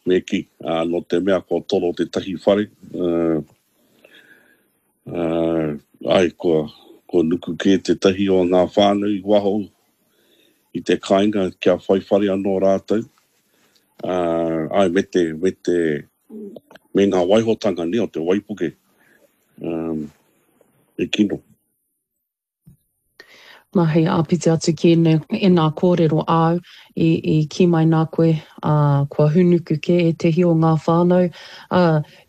Me kī, ā, nō te mea kua toro tētahi whare, ā, ā, āe, kua, kua nuku kē tētahi o ngā whānau i waho i te kāinga kia whai whare anō rātou, ā, āe, me te, me te, me ngā waihotanga, nē, o te waipuke, ā, he kino. Nā, hei āpiti atu ki ēnei, ēnā kōrero āu i, i kī mai nā koe, ā, kua hūnuku kē ētehi o ngā whānau, ā,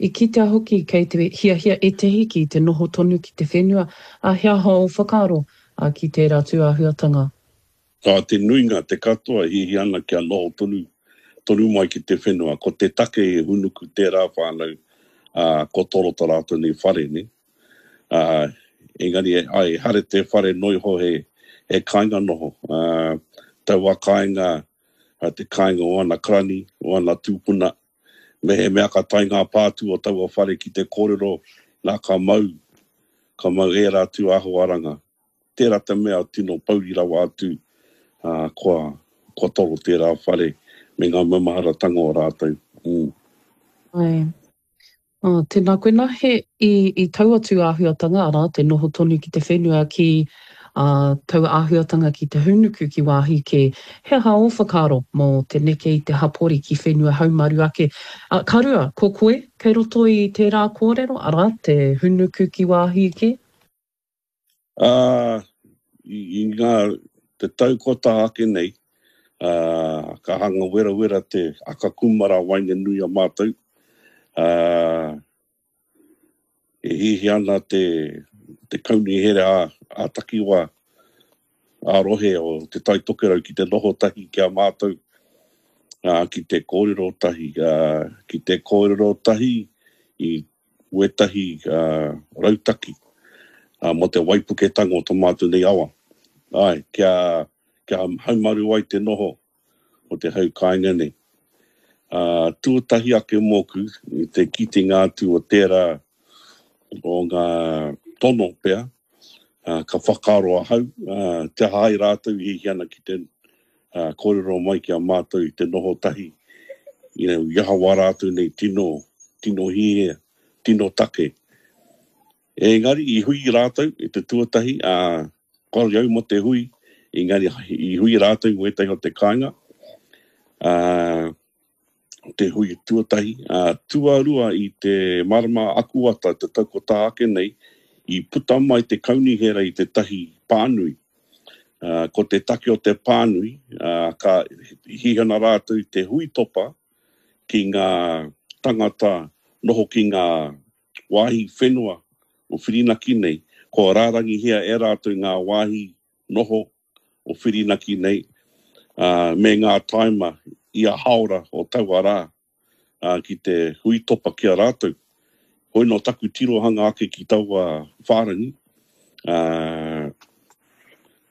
i kitea hoki kei te hiahia ētehi ki te noho tonu ki te whenua, ā, he aha ō whakaaro, ā, ki tērā tūāhuatanga? Ā, te nuinga, te katoa e hiahia ana kia noho tonu, tonu mai ki te whenua. Ko te take e hūnuku tērā whānau, ā, kua toro tā rātou nei whare, nē. Ā, engari, āe, ehara te whare noa iho he, he kāinga noho. Ā, taua kāinga, te kāinga o ana karani, o ana tūpuna, mehemea ka tae ngā pātū o taua whare ki te kōrero, nā ka mau, ka mau ērā tū āhuaranga. Tērā te mea tino pouri rawa atu, ā, kua, kua toro tērā whare me ngā maumaharatanga o rātou. Mm. Āe. Oh, tēnā koe. Nā, he, i, i taua tū āhuatanga, arā, te noho tonu ki te whenua ki, ā, taua āhuatanga ki te hūnuku ki wāhi kē, he aha ō whakaaro mō te neke i te hapori ki whenua haumaru ake? Ā, ka rua, ko koe kei roto i tērā kōrero, arā, te hūnuku ki wāhi kē? Ā, i, i ngā, te tau kua taha ake nei, ā, ka hanga werawera te aka kūmara waenganui a mātou, ā, e hiahia ana te, te kaunihera ā, ā-takiwā, ā-rohe o Te Tai Tokerau ki te noho tahi ki a mātou, ā, ki te kōrero tahi, ā, ki te kōrero tahi i wētahi rautaki mō te waipuketanga o tō mātou nei awa. Āe, kia, kia haumaru ai te noho o te hau kāinga nei. Ā, tuatahi ake mōku, i te kitenga atu o tērā o ngā tono pea, ā, ka whakaaro ahau, ā, te aha ai rātou i hiahia ana ki te ā, kōrero mai ki a mātou i te noho tahi, you know, i aha wā rātou nei tino, tino hiahia, tino take. Engari i hui rātou i te tuatahi, ā, kāore au mō te hui, engari i hui rātou i wētahi o te kāinga, ā, te hui tuatahi, ā, tuarua i te marama Akuata te tau ko tā ake nei, i puta mai te kaunihera i tētahi pānui. Ā, ko te take o te pānui, ā, ka hihana rātou i te huitopa ki ngā tangata noho ki ngā wāhi whenua o Whirinaki nei, kua rārangihia e rātou ngā wāhi noho o Whirinaki nei, ā, me ngā tāima ia hāora o taua rā, ā, ki te huitopa ki a rātou. Hoi nō taku tirohanga ake ki taua whārangi, ā,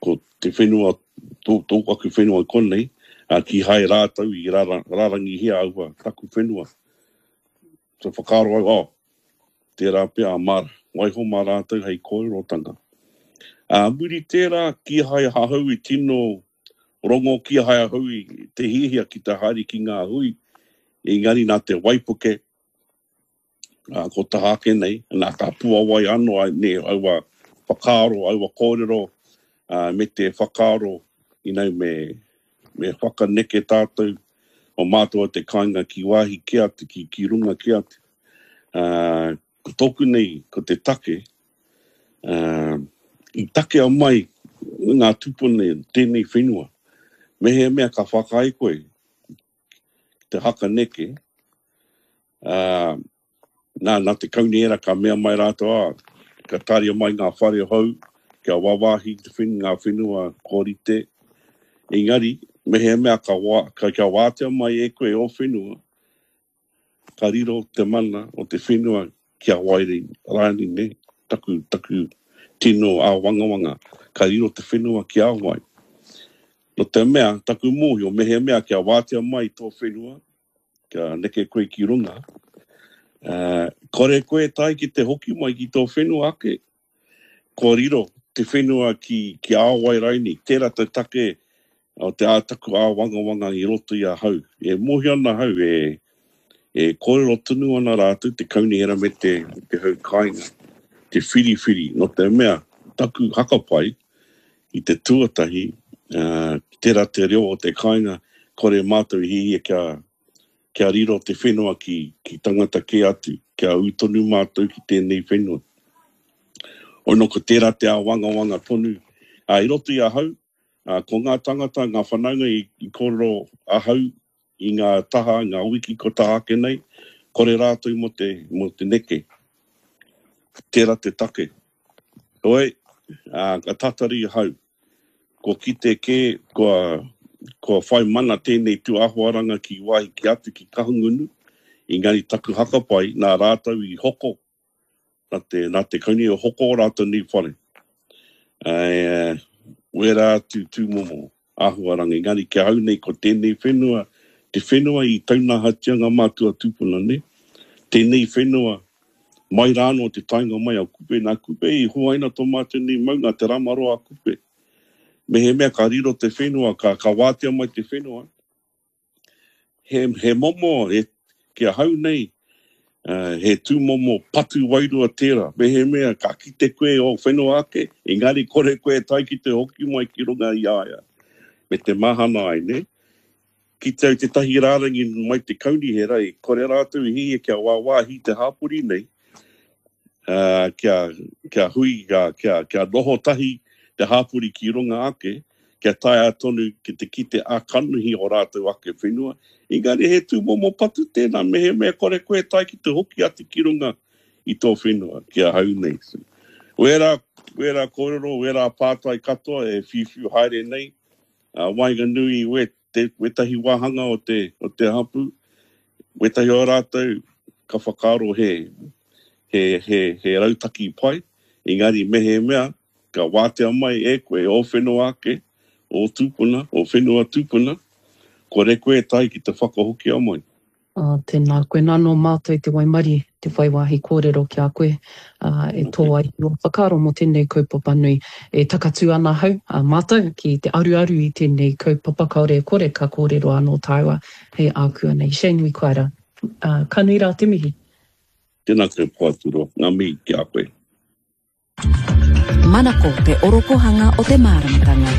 ko te whenua, tō, tō aku whenua i konei, ā, kīhai rātou i rara, rārangihia aua taku whenua. Ka whakaaro au, oh, tērā pea a Mara, waiho mā rātou hei kōrerotanga. Ā muri tērā, kīhai ahau i tino rongo, kīhai ahau i te hiahia ki te haere ki ngā hui, engari nā te waipuke, ā, ko taha ake nei, nā, ka puawai anō ai, nē, aua whakaaro, aua kōrero, ā, me te whakaaro, you know, me, Me whakaneke tātou o mātou o te kāinga ki wāhi kē atu, ki, ki runga kē atu. Ā, ko tōku nei, ko te take, ā, i takea mai ngā tūpuna tēnei whenua. Mehemea ka whakaae koe ki te hakaneke, ā, Nā, nā te kaunihera ka mea mai rātou, ā, ka tāria mai ngā whare hou kia wāwāhi te when, ngā whenua kua rite. Engari, mehemea ka wā, ka, kia wātea mai e koe ō whenua, ka riro te mana o te whenua ki a wai rānei, nē, taku, taku tino āwangawanga, ka riro te whenua ki a wai. Nō te mea, taku mōhio, mehemea kia wātea mai tō whenua, kia neke koe ki runga, ā, kore koe e tae ki te hoki mai ki tō whenua ake, kua riro te whenua ki, ki a wai raini, tērā te take o te ā taku āwangawanga i roto i ahau. E mōhio ana ahau e, E kōrero tonu ana rātou, te kaunihera me te, te hau kāinga, te whiriwhiri, nō te mea, taku hakapai i te tuatahi, uh, tērā te reo o te kāinga, kore mātou i hihia kia, kia riro te whenua ki, ki tangata kē atu, kia ū tonu mātou ki tēnei whenua. Ono ko tērā te āwangawanga tonu. Uh, I roto i ahau, uh, ko ngā tangata, ngā whanaunga i, i kōrero ahau i ngā taha, ngā wiki ko taha ake nei, kore rātou mō te, mō te neke. Tērā te take. Hoi, ā, ka tatari ahau. Kua kite kē, kua, kua whai mana tēnei tūāhuaranga ki wāhi ki atu ki Kahungunu, engari taku hakapai nā rātou i hoko, nā te, nā te kauni i hoko o rātou nei whare. Ā, wērā atu tūmomo āhuaranga, engari ki ahau nei ko tēnei whenua, te whenua i taunahatia ngā mātua tūpuna, nē? Tēnei whenua, mai rānō te taenga mai a Kupe, nā Kupe i huaina tō mātou nei maunga, Te Ramaroa a Kupe. Mehemea ka riro te whenua, ka, ka wātea mai te whenua, he, he momo, he, ki ahau nei, uh, he tūmomo patu wairua tērā. Mehemea ka kite koe ō whenua ake, engari kore koe e tae ki te hoki mai ki runga i a ia. Me te mahana ai, ne? Kite au tētahi rārangi mai te kaunihera i kore rātou i hihia kia wāwāhi te hāpori nei, uh, kia, kia hui, kia, kia, kia noho tahi te hāpori ki runga ake, kia taea tonu ki te kite ā-kanohi o rātou ake whenua, engari he tūmomo patu tēnā mehemea kore koe e tae ki te hoki atu ki runga i tō whenua, ki ahau nei. Wērā, wērā kōrero, wērā pātai katoa e whiuwhiu haere nei, ā, waenganui i wē, te, wētahi wāhanga o te, o te hapū, wētahi o rātou ka whakaaro he, he, he, he rautaki pai, engari mehemea Ka wātea mai e koe ō whenua ake, ō tūpuna, ō whenua tūpuna, kore koe e tae ki te whakahokia mai. Ā, tēnā koe. Nā, nō mātou te waimarie, te whai wāhi kōrero ki a koe, ā, e tō ai i ō whakaaro mō tēnei kaupapa nui. E takatū ana ahau, ā, mātou, ki te aruaru i tēnei kaupapa, kāore e kore ka kōrero anō tāua hei ākuanei. Shane Wikuaira, ā, ka nui rā te mihi. Tēnā koe Poaturoa, ngā mihi ki a koe. Manako te orokohanga o te māramatanga.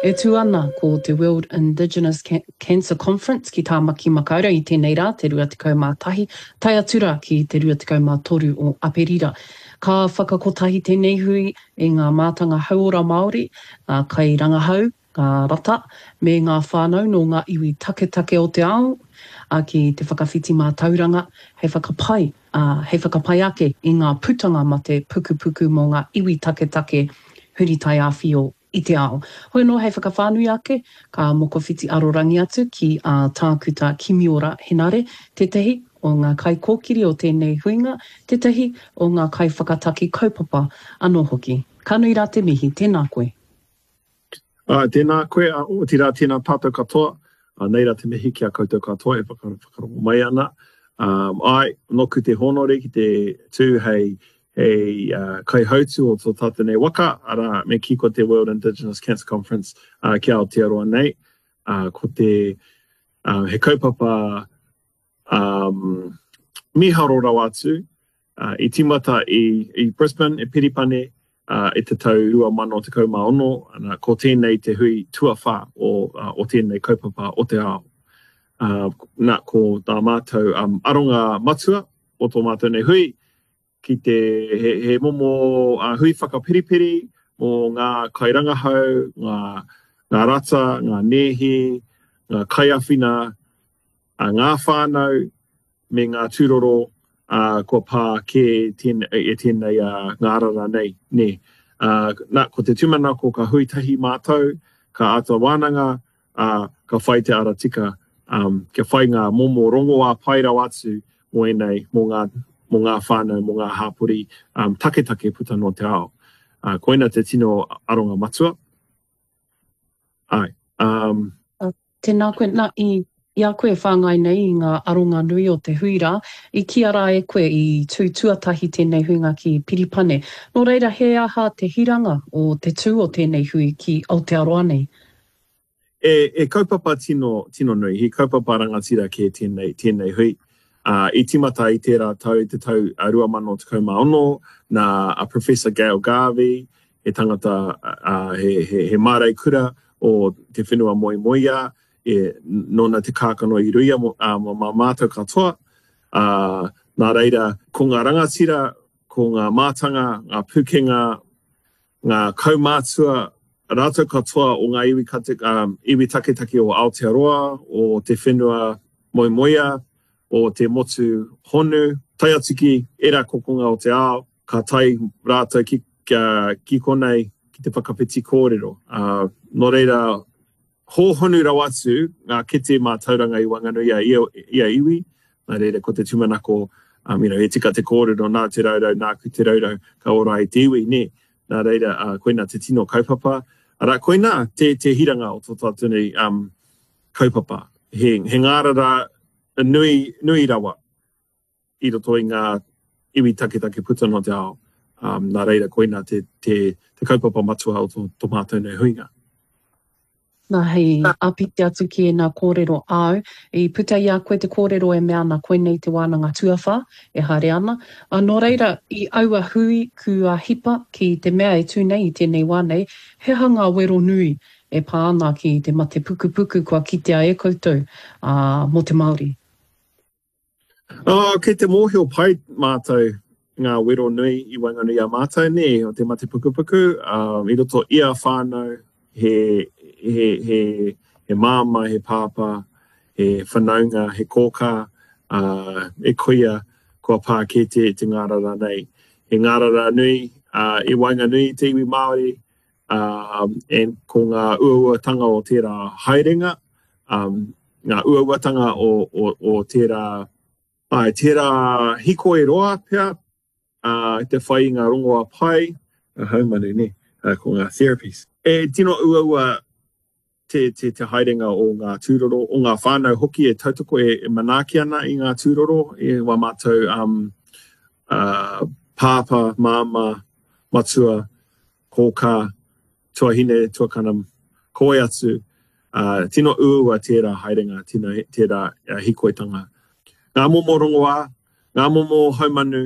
E tū ana ko te World Indigenous Cancer Conference ki Tāmaki Makaurau i tēnei rā, te 21, tae atu rā ki te 23 o Aperira. Ka whakakotahi tēnei hui i ngā mātanga hauora Māori, ngā kairangahau, ngā rata, me ngā whānau nō ngā iwi taketake o te ao, ā, ki te whakawhiti mātauranga hei whakapai, ā, hei whakapai ake i ngā putanga mate pukupuku mō ngā iwi taketake huri taiāwhio i te ao. Hoi anō hei whakawhānui ake, ka mokowhiti arorangi atu ki a Tākuta Kimiora Henare, tētahi o ngā kaikōkiri o tēnei huinga, tētahi o ngā kaiwhakataki kaupapa anō hoki. Ka nui rā te mihi, tēnā koe. Ā, tēnā koe, ā, otirā tēnā tātou katoa, ā, nei rā te mihi ki a koutou katoa e whakarongo mai ana. Ā, āe, nōku te hōnore ki te tū hei, hei kaihautū o tō tātou nei waka, arā, me kī ko te World Indigenous Cancer Conference, ā, ki Aotearoa nei. Ā, ko te, ā, he kaupapa, ā, mīharo rawa atu, I tīmata i Brisbane, i Piripane, i te tau 2016, ana, ko tēnei te hui tuawhā o tēnei kaupapa o te ao. Nā, ko tā mātou aronga matua o tō mātou nei hui, ki te, he, he momo hui whakapiripiri mō ngā kairangahau, ngā, ngā rata, ngā nēhi, ngā kaiāwhina, ngā whānau, me ngā tūroro, ā, kua pā kē e tēnei ngārara nei, nē. Ā, nā, ko te tūmanako ka hui tahi mātou, ka āta wānanga, ā, ka whai te ara tika, ā, kia whai ngā momo rongoā pai rawa atu mō ēnei, mō ngā, mō ngā whānau, mō ngā hāpori, ā, taketake puta noa te ao. Ā, koina te tino aronga matua. Āe. Um. Tēnā koe, nā, i, i a koe e whāngai nei i ngā aronga nui o te hui rā, i kīia rā e koe i tū tuatahi tēnei huinga ki Piripane. Nō reira, he aha te hiranga o te tū o tēnei hui ki Aotearoa nei? E, e kaupapa tino, tino nui, he kaupapa rangatira kē tēnei, tēnei hui. Ā, i tīmata i tērā tau, i te tau 2016, nā a Professor Gail Garvey, he tangata, ā, he, he, he māreikura o te whenua moemoeā, e, nōna te kākano i ruia mō, ā, mō mā mātou katoa. Ā, nā reira, ko ngā rangatira, ko ngā mātanga, ngā pūkenga, ngā kaumātua, rātou katoa o ngā iwi, iwi taketake o Aotearoa, o te whenua moemoeā, o te motu honu, tae atu ki ērā kokonga o te ao, ka tae rātou ki, ki konei ki te whakawhiti kōrero. Nō reira, Hōhonu rawa atu ngā kete mātauranga i waenganui i a ia iwi, nā reira ko te tūmanako, um, you know, e tika te kōrero nā te raurau, nāku te raurau, ka ora ai te iwi, nē. Nā reira, uh, koinā te tino kaupapa. Arā, koinā te, te hiranga o tō tātou nei um, kaupapa. He, he ngārara nui, nui rawa. i roto i ngā iwi taketake puta noa te ao, um, nā reira koina te, te, te kaupapa matua o tō, tō mātou nei huinga. Nā, hei āpiti atu ki ēnā kōrero āu, i puta i a koe te kōrero e mea ana koinei te wānanga tuawhā e haere ana. Ā, nō reira, i aua hui kua hipa ki te mea e tū nei i tēnei wā nei, he aha ngā wero nui e pā ana ki te mate pukupuku kua kitea e koutou, ā, mō te Māori? Oh, kei te mōhio pai mātou ngā wero nui i waenganui i a mātou, nē, o te mate pukupuku, um, i roto ia whānau, he, he, he, he māmā, he pāpā, he whanaunga, he kōkā, uh, e koia kua pā kē te, te ngārara nei. He ngārara nui uh, i waenganui i te iwi Māori, um, and ko ngā uauatanga o tērā haerenga, um, ngā uauatanga o, o, o tērā, ai, tērā hikoi roa pea, uh, te whai i ngā rongoā pai, ngā haumanu, ne, uh, ko ngā therapies. E tino uaua te, te, te haerenga o ngā tūroro, o ngā whānau hoki e tautoko, e, e manaaki ana i ngā tūroro, i wā mātou um, uh, pāpā, māmā, matua, kōkā, tuahine, tuakana, ko wai atu, ā, tino uaua tērā haerenga, tino, tērā hīkoitanga. Ngā momo rongoā, ngā momo haumanu,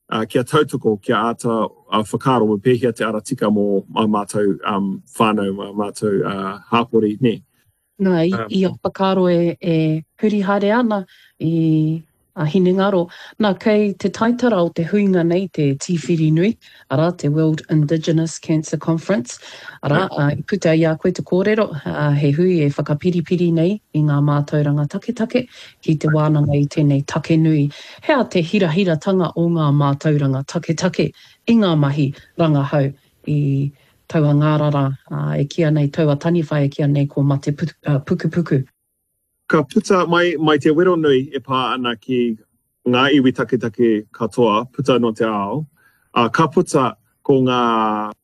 ā, kia tautoko, kia āta whakaaro me pēhea te ara tika mō ā mātou whānau, mā mātou hāpori, nē. Nā, i a whakaaro e, e huri haere ana i a hinengaro. Nā, kei te taitara o te huinga nei te tīwhiri nui, arā, te World Indigenous Cancer Conference, arā, i puta i a koe te kōrero, he hui e whakapiripiri nei i ngā mātauranga taketake ki te wānanga i tēnei take nui. He aha te hirahiratanga o ngā mātauranga taketake i ngā mahi rangahau i Taua ngārara e kīia nei, taua taniwha e kīia nei ko Mate Pukupuku. Ka puta mai, mai te wero nui e pā ana ki ngā iwi taketake katoa puta noa te ao, ā, ka puta ko ngā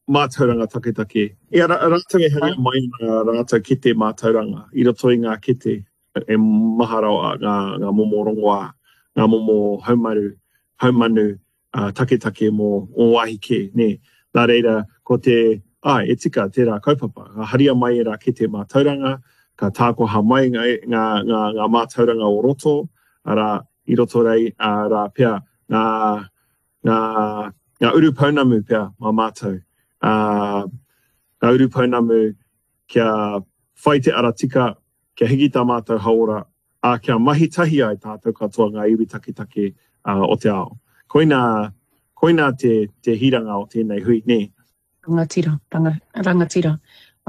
mātauranga taketake. I a rātou e haria mai ana rātou kete mātauranga i roto i ngā kete e maha rawa ngā, ngā momo rongoā, ngā momo haumaru, haumanu, taketake mō ō wāhi kē, nē. Nā reira, ko te, āe, e tika tērā kaupapa. Ka haria mai ērā kete mātauranga, ka tākoha mai ngā, ngā, ngā, ngā mātauranga o roto, arā, i roto rei, ā, rā pea, ngā, ngā, ngā urupounamu pea mā mātou. Ā, ngā urupounamu kia whai te ara tika, kia hiki tā mātou hauora, ā, kia mahi tahi ai tātou katoa ngā iwi taketake o te ao. Koinā, koinā te, te hiranga o tēnei hui, nē. Rangatira, ranga, rangatira,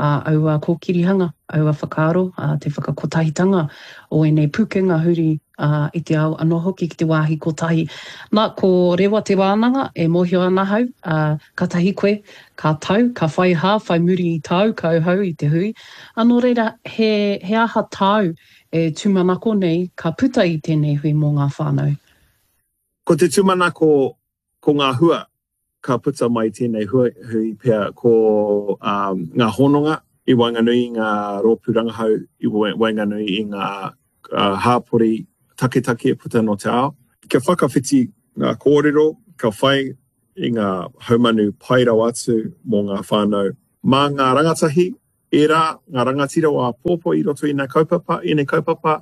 ā, aua kōkirihanga, aua whakaaro, ā, te whakakotahitanga o ēnei pūkenga huri, ā, i te ao anō hoki ki te wāhi kotahi. Nā, ko Rewa Te Wānanga, e mōhio ana ahau, ā, katahi koe, ka tau, ka whai hā, whai muri i tāu kauhau i te hui. Ā, nō reira, he, he aha tāu e tūmanako nei ka puta i tēnei hui mō ngā whānau? Ko te tūmanako ko ngā hua ka puta mai tēnei hui pea ko ngā hononga i waenganui i ngā rōpū rangahau, i waenganui i ngā hāpori taketake puta noa te ao. Kia whakawhiti ngā kōrero, ka whai i ngā haumanu pai rawa atu mō ngā whānau. Mā ngā rangatahi. Ērā ngā rangatira o āpōpō i roto i ngā kaupapa, ēnei kaupapa,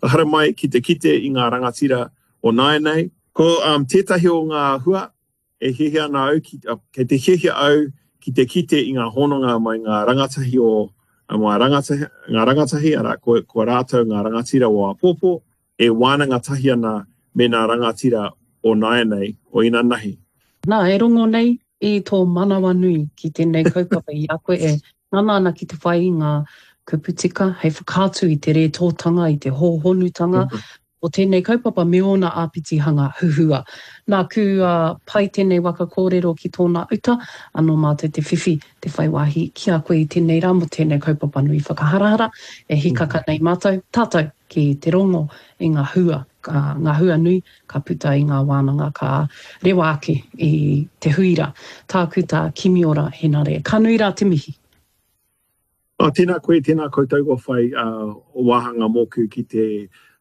ka haramai ki te kite i ngā rangatira o nāianei. Ko um, tētahi o ngā hua e hiahia ana au, ki, kei te hiahia au ki te kite i ngā hononga mai ngā rangatahi o ngā rangatahi, ngā rangatahi arā, ko, ko rātou ngā rangatira o āpōpō, e wānanga tahi ana me ngā rangatira o nāianei, o inanahi. Nā, e rongo nei i tō manawanui ki tēnei kaupapa i a koe e ngana ana ki te whai i ngā kupu tika hei whakaatu i te rētōtanga, i te hōhonutanga o tēnei kaupapa me ōna āpitihanga huhua. Nā, kua pai tēnei waka kōrero ki tōna uta, anō mātou te whiwhi, te whai wāhi ki a koe i tēnei rā mō tēnei kaupapa nui whakaharahara e hīkaka nei mātou, tātou. ki te rongo i ngā hua, ngā hua nui ka puta i ngā wānanga ka rewa ake i te hui rā. Tākuta Kimiora Henare, ka nui rā te mihi. Oh, tēnā koe, tēnā koutou kua whai wāhanga mōku ki te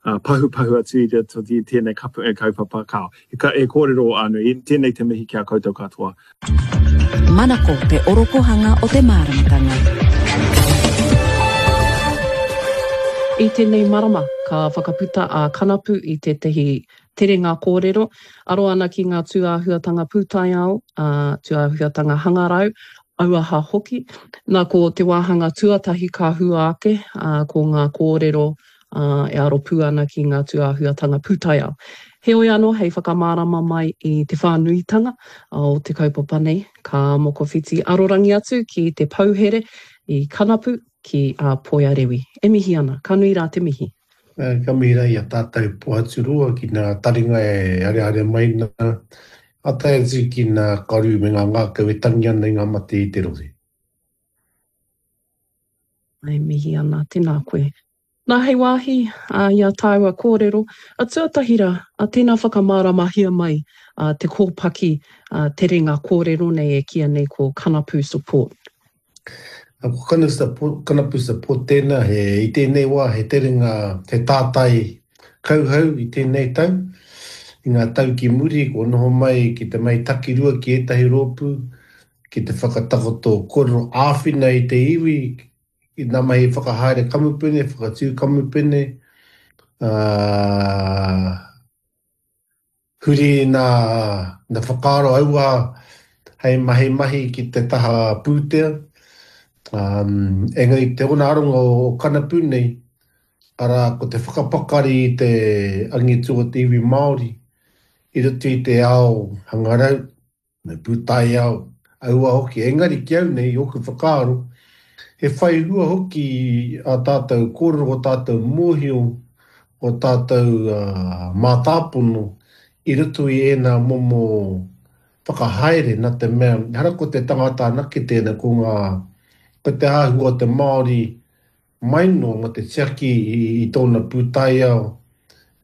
pahupahu atu i roto i tēnei kaupapa. Kāo, he kōrero nui, tēnei te mihi ki a koutou katoa. Manako te orokohanga o te māramatanga. I tēnei marama, ka whakaputa a Kanapu i tētahi terenga kōrero, aro ana ki ngā tūāhuatanga pūtaiao, ā, tūāhuatanga hangarau, auaha hoki. Nā, ko te wāhanga tuatahi ka hua ake, ā, ko ngā kōrero ā, e aro pū ana ki ngā tūāhuatanga pūtaiao. Heoi anō, hei whakamārama mai i te whānuitanga o te kaupapa nei, ka mokowhiti arorangi atu ki te pouhere i Kanapu ki a Poia Rewi. E mihi ana, ka nui rā te mihi. Ka mihi rā i a tātou Pohaturoa ki ngā taringa e areare mai nā, ā tae atu ki ngā karu me ngā ngākau e tangi ana i ngā mate i te rohe. E mihi ana, tēnā koe. Nā, hei wāhi i a tāua kōrero, a tuatahi rā, a tēnā whakamāramahia mai te kōpaki terenga kōrero nei e kīia nei ko Kanapu Support. Ko Kanapu Support tēnā, he, i tēnei wā he terenga, he tātai kauhau i tēnei tau. I ngā tau ki muri, kua noho mai ki te mahi takirua ki ētahi rōpū, ki te whakatakoto kōrero āwhina i te iwi i ngā mahi whakahaere kamupene, whakatū kamupene, ā, huri nā, nā whakaaro auaha hei mahi mahi ki te taha pūtea. Ā, engari te ona aronga o Kanapu nei, arā, ko te whakapakari i te angitu o te iwi Māori i roto i te ao hangarau, Me pūtaiao aua hoki, engari ki au nei, i ōku whakaaro, he whai hua hoki ā tātou kōrero, ō tātou mōhio, ō tātou mātāpono i roto i ēnā momo whakahaere, nā te mea, ehara ko te tangata anake tēnā, ko ngā, ko te āhua o te Māori mai noa mō te tiaki i tōna pūtaiao,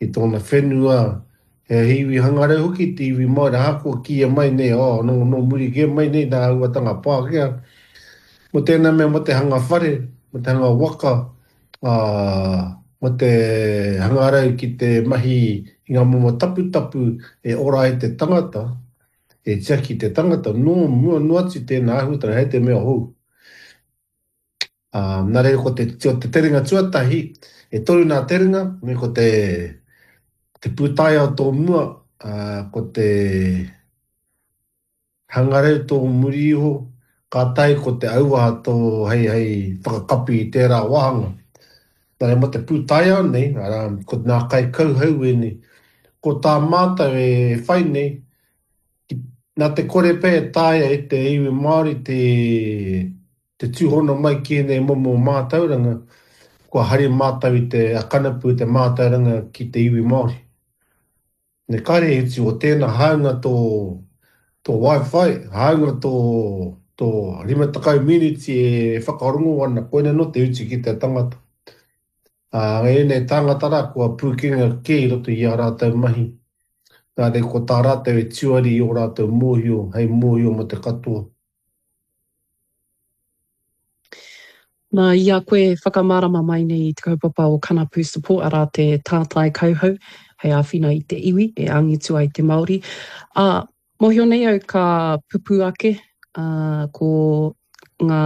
i tōna whenua, he iwi hangarau hoki te iwi Māori, ahakoa kīia mai nei, oh, nō, nō muri kē mai nei nā āhuatanga Pākehā, mō tēnā mea mō te hanga whare, mō te hanga waka, ā, mō te hangarau ki te mahi i ngā momo taputapu e ora ai te tangata, e tiaki te tangata, nō mua noa atu tēnā āhuatanga, hei te mea hou. Ā, nā reira ko te, ko te terenga tuatahi, e toru nā terenga, me ko te, te pūtaiao tō mua, ā, ko te hangarau tō muri iho, kātahi ko te auaha tō hei, hei whakakapi i tērā wāhanga. Nā reira mō te pūtaiao nei, arā, ko nā kaikauhau ēnei, ko tā mātou e whai nei, nā te kore pea e taea e te iwi Māori te, te tūhono mai ki ēnei momo mātauranga, kua hari mātou i te kanapu i te mātauranga ki te iwi Māori. Me kare e utu o tēnā hāunga tō, tō wifi, hāunga tō, tō 50 miniti e whakarongo ana, koina nō te utu ki te tangata. Ā, ēnei tāngata rā kua pūkenga kē i roto i ā rātou mahi, nā reira ko tā rātou e tuari i ō rātou mōhio hei mōhio mō te katoa. Nā, i a koe whakamārama mai nei i te kaupapa o Kanapu Support, arā te tātai kauhau hei āwhina i te iwi e angitu ai te Māori. Ā, mōhio nei au ka pupū ake, ā, ko ngā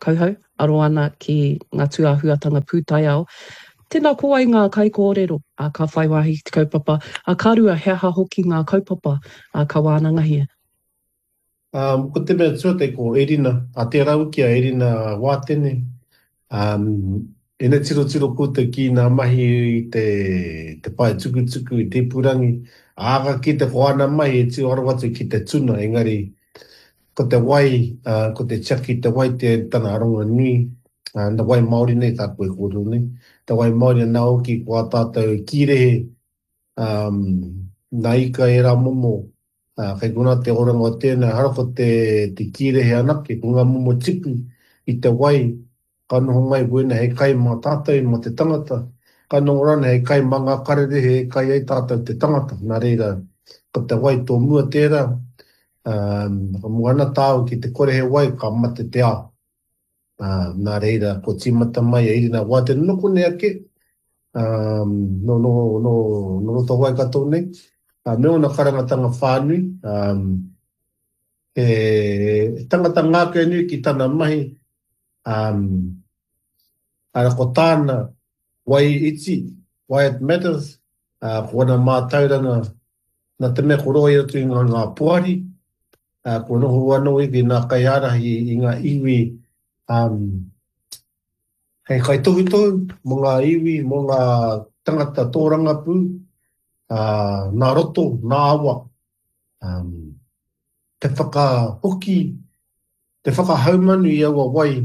kauhau. aro ana ki ngā tūāhuatanga pūtaiao. Tēnā, ko wai ngā kaikōrero ka whai wāhi ki te kaupapa, ā, ka rua, he aha hoki ngā kaupapa ka wānangahia? Ko te mea tuatahi ko Erina, a tērā uki a Erina Wātene, ina tirotiro koutou ki nā mahi i te, te pae tukutuku, i te ipurangi, ā, ka kite ko āna mahi e tū aro atu ki te tuna, engari ko te wai, ko te tiaki i te wai te tana aronga nui, na wai Māori nei tāku e kōrero nei, te wai Māori anā hoki ko ā tātou kīrehe, nā ika ērā momo, Ā, kei konā te oranga o tēnā, ehara ko te, te kīrehe anake, ko ngā momo tipu i te wai, ka noho mai ko ēnei hei kai mā tātou, mā te tangata, ka noho rānei hei kai mā ngā kararehe e kai ai tātou te tangata. Nā reira, ko te wai tō mua tērā, ā, ka mua ana tāu ki te kore he wai, ka mate te ao. Ā, nā reira, kua tīmata mai a Irina Wātene nō konei ake, ā, nō, nō, nō, nō roto o Waikato nei, ā, me ōna karangatanga whānui, ā, he tangata ngākaunui ki tana mahi, ā, arā, ko tāna wai iti, why it matters, ā, ko ana mātauranga, nā te mea ko roa i roto i ngā, ngā poari, ā, kua noho anō iwi nā kaiārahi i ngā iwi, ā, hei kaitohutohu mō ngā iwi, mō ngā tangata tōrangapū, ā, nā roto, nā awa, ā, te whakahoki, te whakahaumanu i aua wai,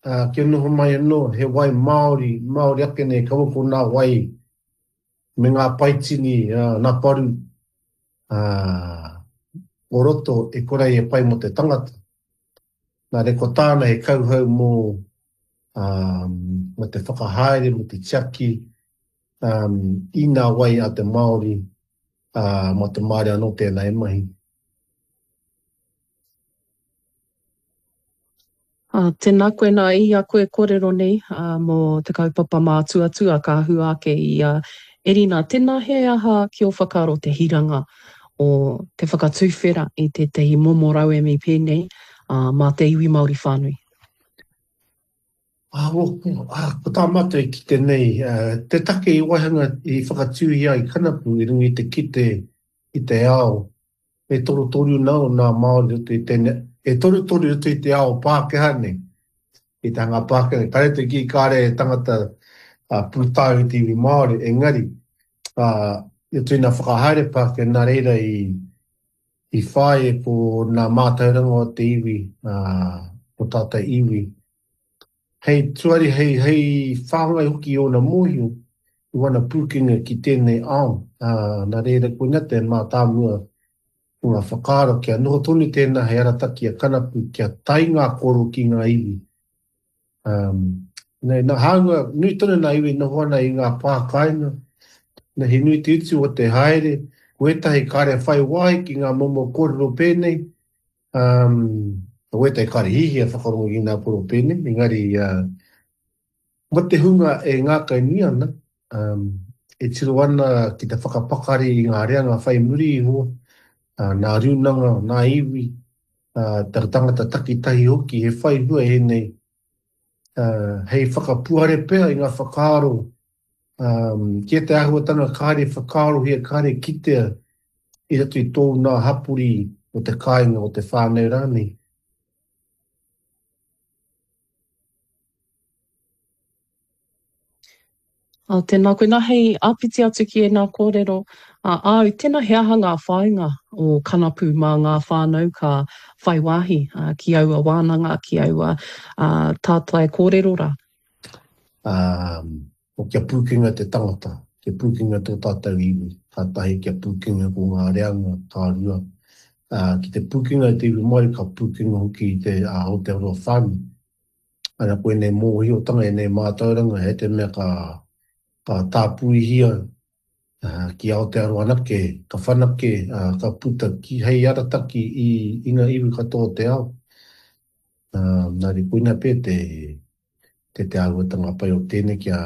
ā, kia noho mai anō he wai māori, māori ake nei, kaua ko nā wai me ngā paitini, ā, nā paru, ā, o roto e kore ai e pai mō te tangata. Nā reira, ko tāna he kauhau mō, ā, mō te whakahaere, mō te tiaki, ā, i ngā wai a te Māori, ā, mā te Māori anō tēnā e mahi. Ā, tēnā koe nā i a koe kōrero nei, ā, mō te kaupapa mātuatua ka hua ake i a Erina, tēnā he aha ki ō whakaaro te hiranga o te whakatuwhera i tētahi momo rauemi pēnei, ā, mā te iwi Māori whānui? Ā, ā, ko tā mātou e kite nei, te take i waihanga, i whakatūhia ai Kanapu i runga i te kite i te ao E torutoru nā o nā Māori roto i tēnei, e torutoru roto i te ao Pākehā nei, i te hanga Pākehā nei. Kāre te kī kāre he tangata pūtau i te iwi Māori, engari, i roto i nā whakahaere Pākehā, nā reira i, i whāia ko nā mātauranga o te iwi, o tātou iwi, hei tuari, hei, hei whāngai hoki i ōna mōhio, i wana pūkenga ki tēnei ao, ā, nā reira koina te mātāmua o ngā whakaaro kia noho tonu tēnā hei arataki a Kanapu kia tae ngā koro ki ngā iwi. Ā, nei, nā, hāunga, nui tonu nā iwi noho ana i ngā pā kāinga, nā, he nui te utu o te haere, ko ētahi kāre whai wāhi ki ngā momo kōrero pēnei, Um, ko wētahi kāre hihia whakarongo ki ngā koro pēnei, engari uh, mo te hunga e ngākau nui ana, um, e tiro ana ki te whakapakari i ngā reanga whai muri iho, uh, nā rūnanga, nā iwi, uh, te tangata takitahi hoki, he whai hua ēnei uh, hei whakapuare pea i ngā whakaaro um, ki te āhuatanga kāre whakaarohia, kāre kitea i roto i tōu nā hapori o te kāinga, o te whānau rānei. Ā, tēnā koe. Nā, hei āpiti atu ki ēnā kōrero a āu, tēnā he aha ngā whāinga o Kanapu mā ngā whānau ka whai wāhi ki aua wānanga, ki aua tātai kōrero rā? Ā, kia pūkenga te tangata, kia pūkenga tō tātou iwi, ka tahi kia pūkenga ko ngā reanga, ka rua, ā, ki te pūkenga i te iwi Māori, ka pūkenga hoki i te Aotearoa whānui. Ana ko ēnei mōhiotanga, ēnei mātauranga, he te mea ka, ka tāpuihia ki Aotearoa anake, ka whanake, ka puta ki hei arataki i, i ngā iwi katoa o te ao. Nā reira, koina pea te, te, te āhuatanga pai o tēnei kia,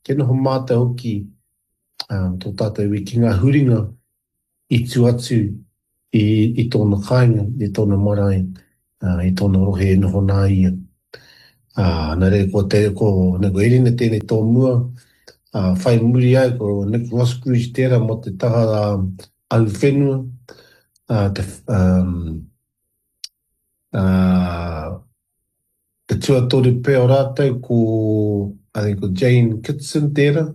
kia noho mātau hoki tō tātou iwi ki ngā huringa i tū atu i, i tōna kāinga, i tōna marae, i tōna rohe e noho nā ia. Ā, nā reira ko te, ko, nā, ko Erina tēnei tō mua, ā, whai muri ai ko Nick Roskruge tērā mō te taha ahuwhenua, ā, te, um, ā, te tuatoru pea o rātou ko, I think ko Jane Kitson tērā,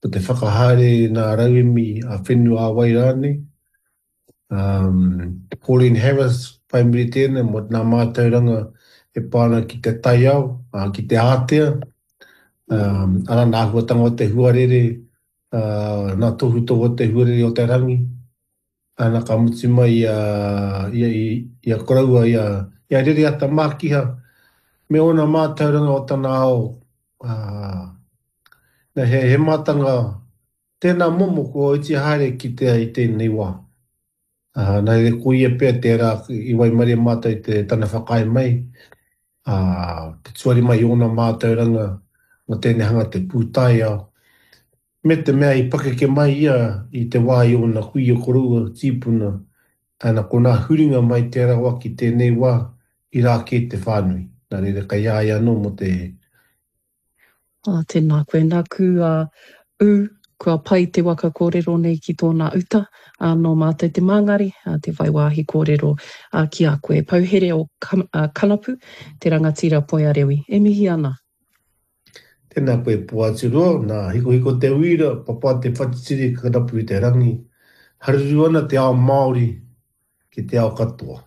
ko te whakahaere nā rauemi ā-whenua ā-wai rānei. Um, Pauline Harris, whai muri tēnei, mō nā mātauranga e pā ana ki te taiao, uh, ki te ātea, um, arā nā āhuatanga o te huarere, uh, nā tohutohu o te huarere o te rangi, ana ka mutu mai i a, i a, i a koroua, i a, i a Rereata Mākiha, me ōna mātauranga o tana ao, uh, na, he, he mātanga Tēnā momo kua iti haere kitea i tēnei wā. Ā, nā reira ko ia pea tērā i waimarie mātou i te tana whakaae mai, ā, te tuari mai i ōna mātauranga mō tēnei hanga te pūtaiao, me te mea i pakeke mai ia i te wā i ōna kuia koroua, tīpuna, ana ko nā huringa mai tērā wā ki tēnei wā i rā kē te whānui. Nā reira kei a ia anō mō te Ā, tēnā koe. Nāku a ū, kua pai te waka kōrero nei ki tōna uta, ā, nō mātou te māngari, ā, te whai wāhi kōrero, ā, ki a koe. Pouhere o Kanapu, te rangatira Poiarewi. E mihi ana. Tēnā koe Poaturoa, nā Hikohiko te uira, papa te whatitiri, kanapu i te rangi. Haruru ana te ao Māori ki te ao katoa.